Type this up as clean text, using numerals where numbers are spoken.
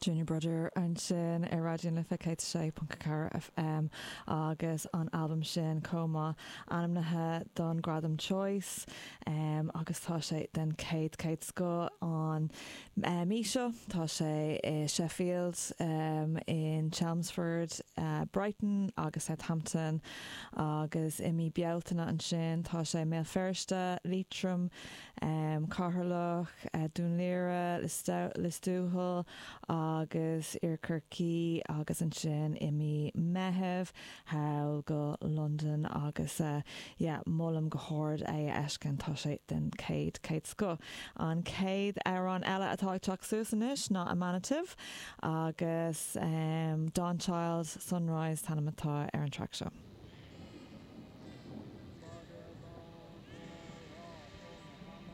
Junior Brother ansin ar Raidió na Life 106.4 FM agus an albam sin chomh maith ainmnithe don Gradam Choice agus tá sé den chéad chéad scoth an mí seo. Tá sé i Sheffield, in Chelmsford, Brighton agus Southampton agus i mí Bealtaine ansin tá sé i mBéal Feirste, Liatroim, Ceatharlach, Dún Laoghaire, Lios Tuathail agus Iarthar Chorcaí agus ansin i mí Meitheamh thall go Londain agus yeah molaim go hard é a fheiscint, tá sé den chéad chéad scoth. An chéad amhrán eile atá ag teacht suas anois ná Emanative agus Dawnchild, Sunrise an t-ainm atá ar an traic seo.